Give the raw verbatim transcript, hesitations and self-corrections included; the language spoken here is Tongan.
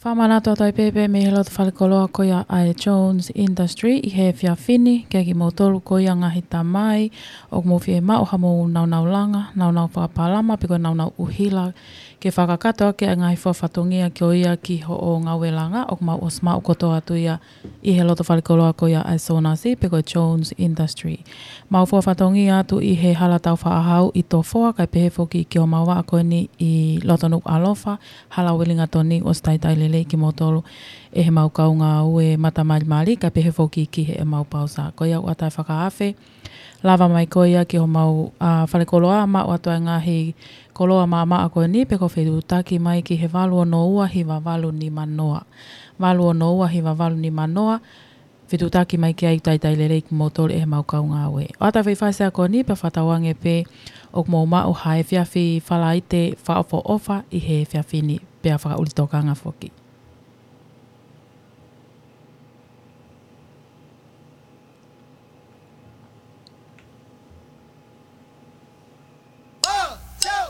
Pea manatu atu ai pē pē mei he loto falekoloa ko ia ʻa e Jones Industry ʻi he efiafi ni, kiate kimoutolu ko ia ngaahi tamai ʻoku mou fie maʻu haʻamou naunau langa, naunau fakapalama, pe ko e naunau ʻuhila, ke fakakakato ʻaki ʻa e ngaahi fua fatongia ko ia ki hoʻo ngāue langa, ʻoku mau ʻosi maʻu kotoa atu ia ʻi he loto falekoloa ko ia ʻa e Sonasi, pe ko e Jones Industry. Mau fua fatongia atu ʻi he hala taufaʻāhau ʻi Tofoa, kae pehē foki ki homau vaʻa ko eni ʻi loto Nukuʻalofa, hala ʻo Uelingatoni, ʻosi taitai lelei kimoutolu ʻe heʻemau kau ngāue matamalimali, kae pehē foki ki heʻemau pausa. Ko ia ʻoku ʻatā e fakaafe, lava mai ko ia ki homau, ā, falekoloa, maʻu atu ʻa e ngaahi koloa maʻamaʻa ko eni, pe ko e fetuʻutaki mai ki he valu ono ua hiva valu nima noa. Valu ono ua hiva valu nima noa, fetuʻutaki mai ki ai, taitai lelei kimoutolu ʻe heʻemau kau ngāue. ʻOatu e faifai sia ko eni, pea fakatauange pē ʻoku mou maʻu ha efiafi Falaite fakaʻofoʻofa ʻi he efiafi ni, pea fakaʻuli tokanga foki.